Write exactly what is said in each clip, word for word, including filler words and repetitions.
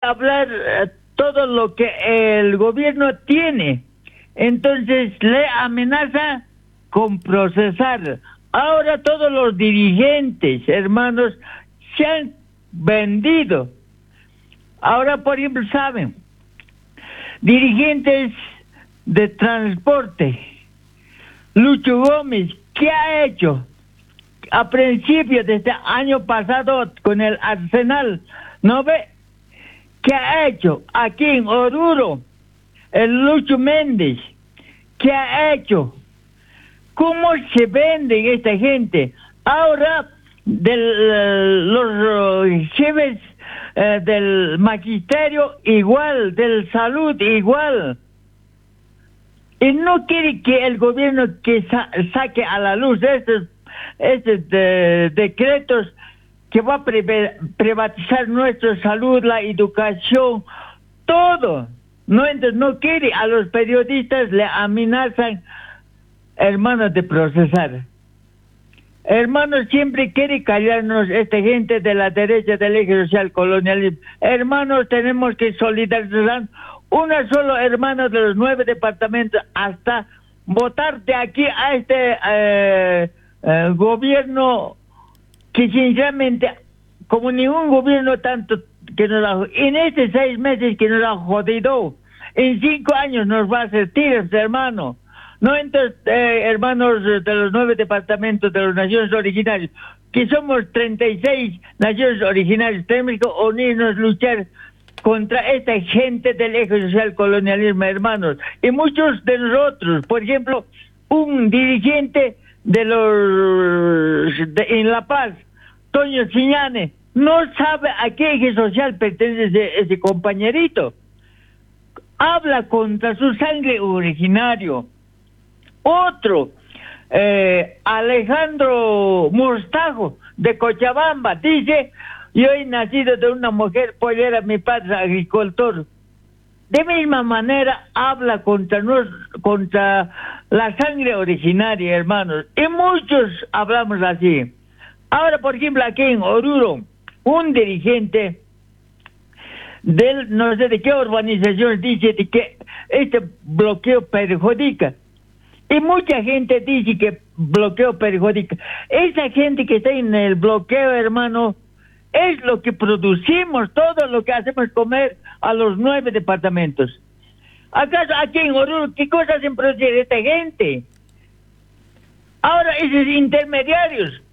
Hablar eh, todo lo que el gobierno tiene. Entonces le amenaza con procesar. Ahora todos los dirigentes, hermanos, se han vendido. Ahora, por ejemplo, saben, dirigentes de transporte, Lucho Gómez, ¿qué ha hecho? A principios de este año pasado con el Arsenal, ¿no ve? ¿Qué ha hecho? Aquí en Oruro, el Lucho Méndez, ¿qué ha hecho? ¿Cómo se venden esta gente? Ahora, del, los jefes eh, del magisterio igual, del salud igual. Y no quiere que el gobierno que sa saque a la luz estos, estos de, decretos que va a privatizar nuestra salud, la educación, todo. No, entonces no quiere, a los periodistas le amenazan, hermanos, de procesar. Hermanos, siempre quiere callarnos esta gente de la derecha del eje social colonialismo. Hermanos, tenemos que solidarizar una sola, hermano, de los nueve departamentos hasta votar de aquí a este eh, eh, gobierno que sinceramente, como ningún gobierno tanto que nos ha, en estos seis meses que nos ha jodido, en cinco años nos va a hacer tiros, hermano. No, entonces, eh, hermanos de los nueve departamentos de las naciones originarias, que somos treinta y seis naciones originarias, tenemos que unirnos, luchar contra esta gente del eje social colonialismo, hermanos. Y muchos de nosotros, por ejemplo, un dirigente de los de, en La Paz, Toño Siñane, no sabe a qué eje social pertenece ese, ese compañerito. Habla contra su sangre originario. Otro, eh, Alejandro Mostajo, de Cochabamba, dice: yo he nacido de una mujer pollera, mi padre agricultor. De misma manera habla contra, nos, contra la sangre originaria, hermanos. Y muchos hablamos así. Ahora, por ejemplo, aquí en Oruro, un dirigente del no sé de qué urbanización dice de que este bloqueo perjudica. Y mucha gente dice que bloqueo perjudica. Esa gente que está en el bloqueo, hermano, es lo que producimos, todo lo que hacemos comer a los nueve departamentos. ¿Acaso aquí en Oruro qué cosas hacen producir esta gente? Ahora esos intermediarios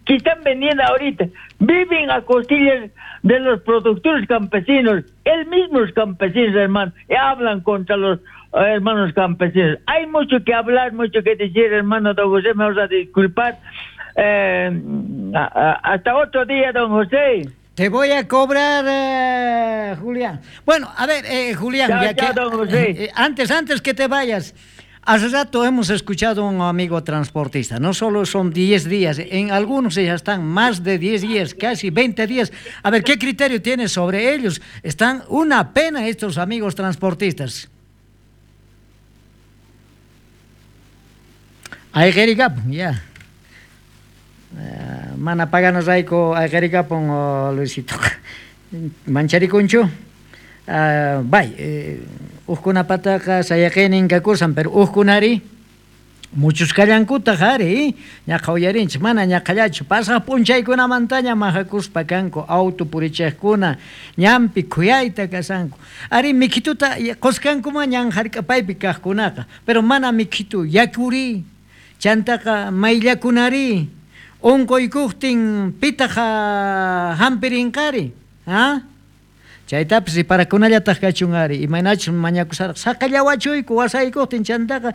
que están vendiendo ahorita viven a costillas de los productores campesinos, el mismos campesinos, hermano, y hablan contra los hermanos campesinos. Hay mucho que hablar, mucho que decir, hermano don José, me vas a disculpar. Eh, a, a, hasta otro día, don José. Te voy a cobrar, eh, Julián. Bueno, a ver, eh, Julián, chao, ya chao, que, don José. Eh, antes, antes que te vayas, hace rato hemos escuchado a un amigo transportista. No solo son diez días, en algunos ya están más de diez días, casi veinte días. A ver, ¿qué criterio tienes sobre ellos? Están una pena estos amigos transportistas. Ay, Jericap, ya. Uh, mana paganos rayku ayqarikapun uh, Luisito. Mancharikunchu. Uh, bay, eh, uqkunapataqa sayaqinin kakusan, pero uqkunari muchos kallankutaq ari, ñaqa uyarinchik, mana ñaqallachu, pasaq p'unchaykunamantaña majakuspa kanku auto purichiqkuna, ñanpi khuyayta kasanku. Ari mikhituta quskankuman ñan hark'apaypi kaqkunaqa, pero mana mikhitu yakuri, chantaqa mayllakunari, unquykuqtin pitaq hampirinqari, ha? Chaytapis riparakunallataq kachun ari, imaynachus mañakusaraq saqallawachuyku wasaykuqtin chantaqa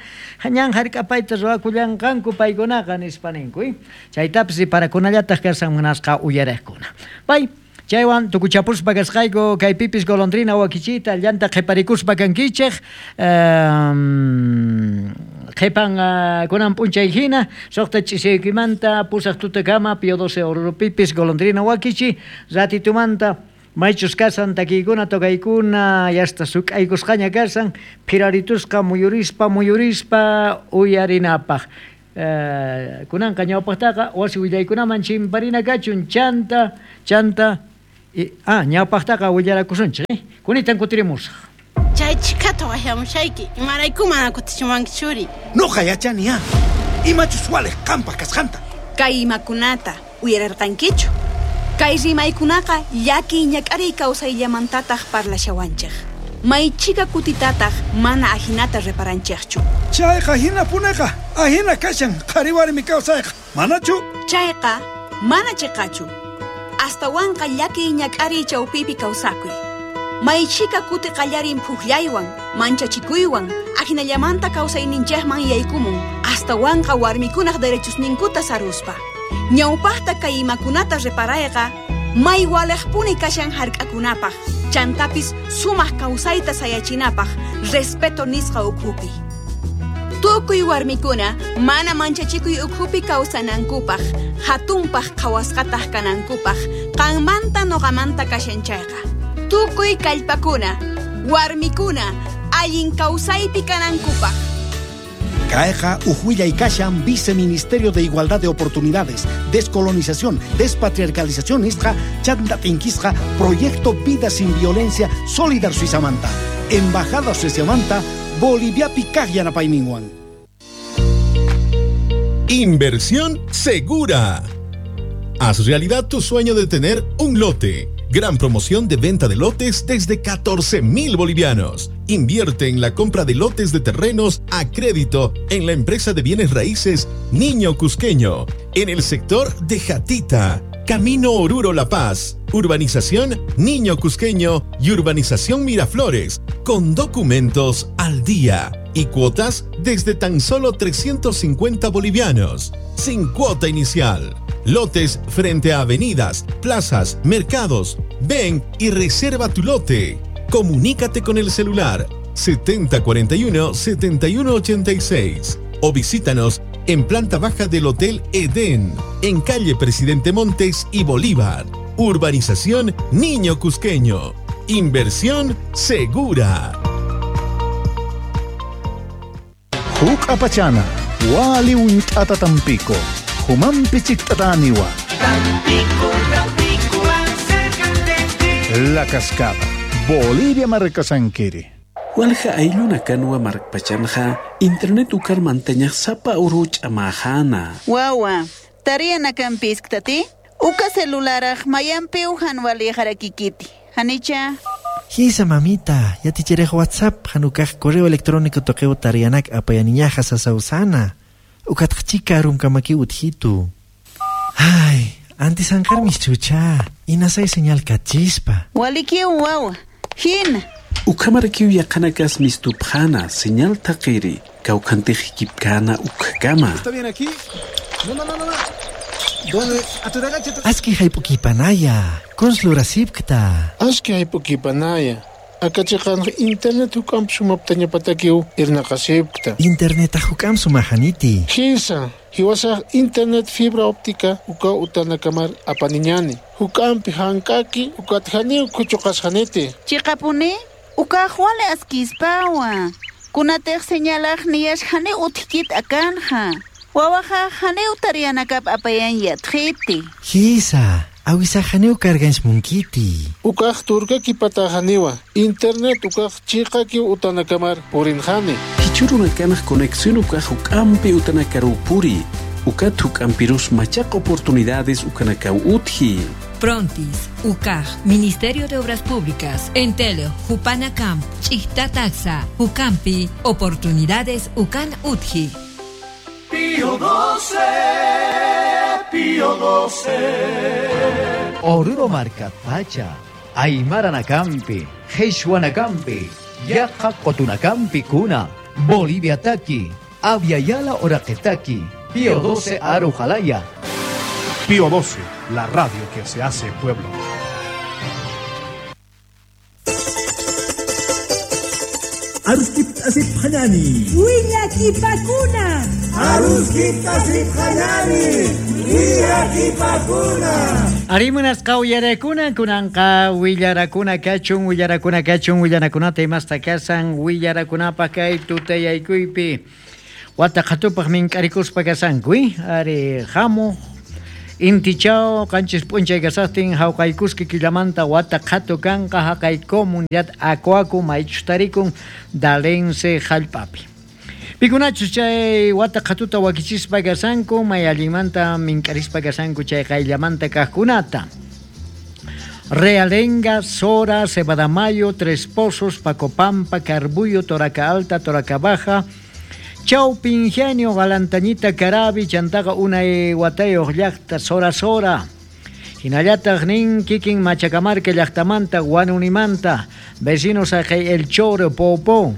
ñan hark'apayta ruwakullanqanku paykunaqa nispa ninku, eh? Chaytapis riparakunallataq kasan munasqa uyariqkuna. Pay, chaywan tukuchapuspa kasqayku kaypipis golondrina wakichita llanta qhiparikuspa kankichej, um, qhipan uh, kunan p'unchay hina suqta ch'isiykimanta pusaq tutakama Pío doce Orurupipis golondrina wakichi ratitumanta maychus kasan takiykuna tokaykuna yasta suk'aykusqaña kasan phiraritusqa muyurispa muyurispa uyarinapaq. Uh, kunanqa ñawpaqtaqa wasi willaykunaman chimparina kachun chanta chanta Ah, ñawpaqtaqa willarakusunchik, eh? Kunitan kutirimusaq. Chay chikata waqyamushayki, imarayku mana kutichiwanki churi. Noqa yachani ah. Imachus waliq qampaq kasqanta. Kay imakunata uyararqankichu. Kay rimaykunaqa llakiy ñak'ariy kawsayllamantataq parlashawanchik. Maychika kutitataq mana ajinata reparanchikchu. Chayqa hinapuneqa, ajina kashan qhari warmi kawsayqa. Manachu? Chayqa mana chiqachu. Astawanqa llakiy ñak'ariy chawpipi kawsakuy. Maychika kuti qallarin phuqllaywan, manchachikuywan, ajinallamanta kawsayninchikman yaykumun, astawanqa warmikunaq derechosninkuta saruspa. Ñawpaqta kay imakunata reparayqa, may waliqpuni kashan hark'akunapaq, chantapis sumaq kawsayta sayachinapaq, respeto nisqa ukhupi. Tukuy warmikuna mana manchachikuy ukhupi kawsanankupaq, hatunpaq qhawasqataq kanankupaq, qanmanta noqamanta kashan chayqa. Tukuy kallpakuna, warmikuna, allin kawsaypi kanankupaq. Caeja Ujuilla y Kashan, Viceministerio de Igualdad de Oportunidades, Descolonización, Despatriarcalización, Isja, Chanda Tinquisja, Proyecto Vida Sin Violencia, Solidar Suizamanta, Embajada Suizamanta, Bolivia Picaj Yanapayninwan. Inversión segura. Haz realidad tu sueño de tener un lote. Gran promoción de venta de lotes desde catorce mil bolivianos. Invierte en la compra de lotes de terrenos a crédito en la empresa de bienes raíces Niño Cusqueño, en el sector de Jatita, Camino Oruro La Paz, Urbanización Niño Cusqueño y Urbanización Miraflores, con documentos al día y cuotas desde tan solo trescientos cincuenta bolivianos, sin cuota inicial. Lotes frente a avenidas, plazas, mercados. Ven y reserva tu lote. Comunícate con el celular setenta cuarenta y uno, setenta y uno ochenta y seis o visítanos en planta baja del Hotel Edén, en calle Presidente Montes y Bolívar. Urbanización Niño Cusqueño. Inversión segura. Huk apachana, wali unt'ata tampico. Humampi chiktataniwa. Tampico, Tampico, acércate. La Cascada, Bolivia Marcasanquiri. Walja ayluna kanwa markpachanja, internet ukar mantañaj sapa uruch amajana. Wawa, tariana kampisktati, uka celularaj mayampi ujan walijarakikiti. Hanicha. Hisa mamita, ya ticherej WhatsApp, hanukaj correo electrónico toqueo tarianak apayaniñaja sasausana. Ukatqchika rumkamaki utjitu. Ay, antes ankarmis chucha, inasay señal kachispa. Walikiu wawa, hina. Ukamarakiu yaqanakas mistupjana, señal taqiri, kawkantijikipkana ukkama. ¿Está bien aquí? No, no, no, no. ¿Dónde? Aski haypukipanaya, konslurasipkta. Aski haypukipanaya. Akachiqan internet hukam sumaptaña patakiu irnaqasipta. Internet hukam sumajaniti. Hisa, hiwasaq internet fibra óptica uka utanakamar apaniñani. Hukampi hankaki ukatjani kuchuqasjaniti. Chiqapuni ukaq wale askispawa. Kunatej señalaj niyashjani utkit akanja. Wawaja jani utarianakap apayan yatjiti. Hisa. Awisajaniu cargans munkiti. Ukaj turka kipatajaniwa. Internet ukaj chiqaki utanakamar purinjani. Kichurunakanaj conexión ukaj ukampi utanakarupuri. Ukat ukampirus machaq oportunidades ukanakau utji. Prontis, U C A J, Ministerio de Obras Públicas, Entel, Jupanacamp, Chichtataxa, Jucampi, Oportunidades Ucan Utji. Pío doce, Pío doce. Oruro Marca Pacha, Aymara Nacampi, Jesuanacampi, Yaja Cotunacampi Cuna, Bolivia Taqui, Aviala Oraqetaqui, Pío doce Arujalaya. Pío doce, la radio que se hace pueblo. Aruskip asip hanani. Willakipakuna. Aruskip asip hanani. Willakipakuna. Arimunas qawyarakuna kunanqa willarakuna kachun willarakuna kachun willanakunata imasta kasan willarakunapaq kay tutayaykuypi wata qhatupaq mink'arikuspa kasanku ari hamuq Intichao qanchis p'unchay kasaqtin hawqaykuski killamanta wata qhatu kanqa haqay comunidad Acuacu maychus tarikun Dalense hallp'api. Pikunachus chay wata qhatuta wakichispa kasanku may allinmanta mink'arispa kasanku chay qayllamanta kaqkunata. Realenga, Sora, Cebadamayo, Tres Pozos, Pacopampa, Carbuyo, Toraca Alta, Toraca Baja, Chaupi Ingenio, Galantañita, Carabi, Chantaga, Unay, Guatayo, llaqta, Sora Sora. Hinallataq nin kikin Machacamarca llaqtamanta, Guanunimanta, vecinos haqay El Choro, Popó.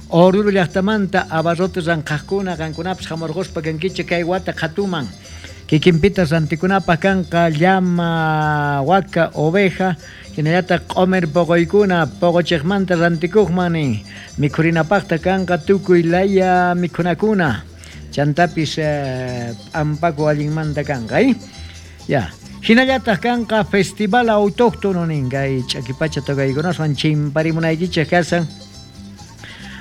Oruro llaqtamanta, abarrotes ranqaqkuna, qankunapas hamurquspa kankichik kay wata qhatuman. Kikinpita rantikunapaq kanqa llama, waka, oveja, hinallataq q'umir poqoykuna, poqochiqmanta rantikuqman nin. Mikhurinapaqta kanqa tukuy laya mikhunakuna. Chantapis eh, p'ampaku allinmanta kanqa, eh? Ya. Hinallataq kanqa festival autóctono nin kay ch'akipacha tocaykunaswan chimparimunaykichik kasan.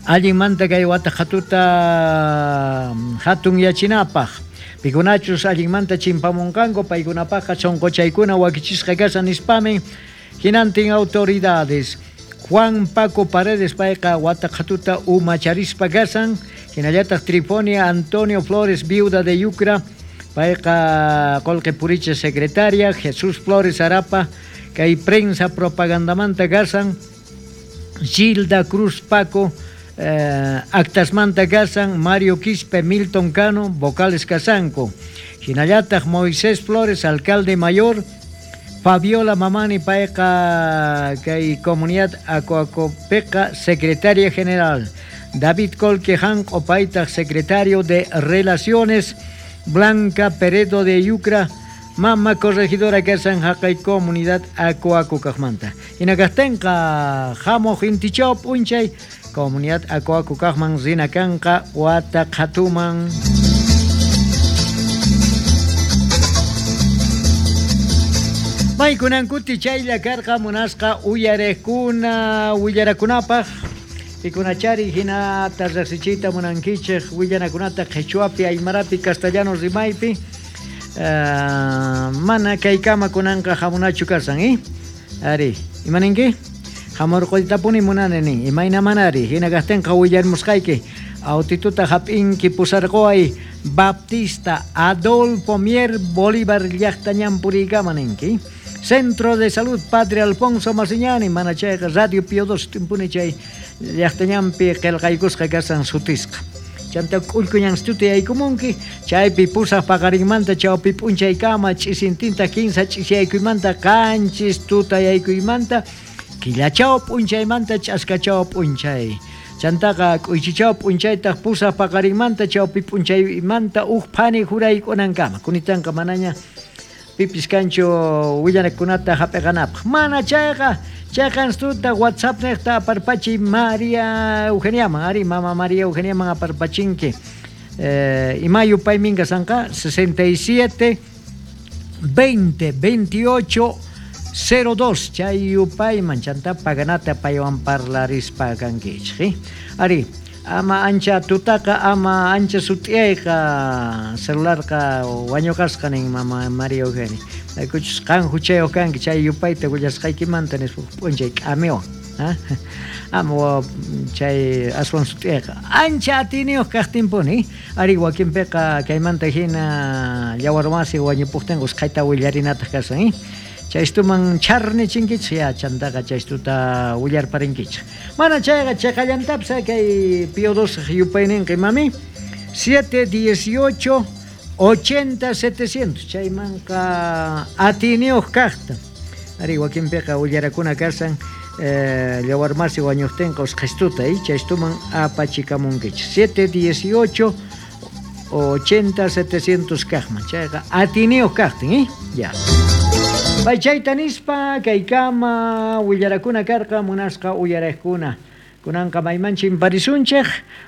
Allinmanta kay wata qhatuta hatun yachinapaq. Pikunachus allinmanta chimpamunqanku paykunapaqqa chonqochaykuna wakichisqa kasan nispamin hinantin autoridades. Juan Paco Paredes payqa wata qhatuta umacharispa kasan, hinallataq Trifonia Antonio Flores viuda de Yucra payqa Qolqe Puriche secretaria, Jesús Flores Arapa kay prensa propagandamanta kasan, Gilda Cruz Paco eh, actasmanta kasan, Mario Quispe, Milton Cano, vocales kasanku. Hinallataq Moisés Flores, alcalde mayor, Fabiola Mamani payqa kay comunidad Acoacopeca, secretaria general, David Colquejanco paytaq secretario de Relaciones, Blanca Peredo de Yucra, mama corregidora kasan haqay comunidad Acoaco kaqmanta. Hinakaqtinqa hamuq intichaw p'unchay comunidad Acoaco kaqman rina kanqa wata qhatuman. Maykunankuti chaylla karqa munasqa uyariqkuna willarakunapaq pikunachari hinata riqsichiyta munankichik willanakunata qhichwapi, aymarapi, castellano rimaypi. Uh, mana kaykama kunanqa hamunachu kasan, eh? Ari, imaninki? Hamurquytapuni munani nin, imayna manari, hina kaqtinqa willarmusqayki. Autituta hap'inki pusarquway Baptista Adolfo Mier Bolívar llaqta ñanpuriykama ninki. Centro de Salud Padre Alfonso Masiñani, mana chayqa Radio Pío dos timpuni chay llaqta ñanpi qillqaykusqa kasan sutisqa. Chanta k'ullkuñanstuta yaykumunki, chaypi pusaq paqarinmanta chawpi p'unchaykama ch'isintinta kinsa ch'isyaykuymanta qanchis tuta yaykuymanta killachaw p'unchaymanta ch'askachaw p'unchay. Chantaqa k'uychichaw p'unchaytaq pusaq paqarinmanta chawpi p'unchaymanta uj phani juraykunankama. Kunitanqa manaña pipis kanchu willanakunata hap'iqanapaq. Mana chayqa chayqanstuta WhatsApp niqta aparpachiy María Eugeniaman, ari mama María Eugeniaman aparpachinki. Eh, imayu paymin kasanqa sesenta y siete veinte veintiocho cero dos chay yupayman chanta paganata paywan parlarispa kankichik. Ari ama ancha tutaqa ama ancha sut'iyayqa celularqa wañuqasqa nin mama María Eugenia. Maykuchus qan huchayuq kanki chay yupayta willasqaykimanta nispa p'unchay k'amiwan. Ama chay aswan sut'iyayqa ancha atiyniyuq kaqtinpuni. Ari wakinpiqa kaymanta hina yawarmasi wañupuqtinqa usqhayta willarinataq kasan. Chaystuman charnichinkichik ya chantaqa chaystuta willarparinkichik. Mana chayqa chaqallantapis kay Pío dos yupayninqa imami siete dieciocho ochenta setecientos chaymanqa atiyniyuq kaqta. Ari wakinpiqa willarakuna kasan eh, yawarmasi wañuqtinqa usqhaystuta eh, chaystuman apachikamunkichik siete dieciocho ochenta setecientos kaqman chayqa atiyniyuq kaqtin eh? Ya. Paychayta nispa kaykama willarakuna karqa munasqa uyariqkuna. Kunanqa mayman chimparisunchik,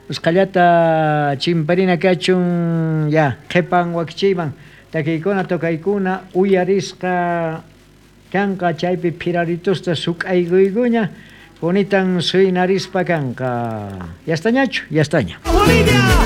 usqhallata chimparina kachun ya qhipan wakichiyman takiykuna tokaykuna uyarisqa kanqa chaypi phiraritusta suk'aykuykuña kunitan suynarispa kanqa. Yastañachu, yastaña.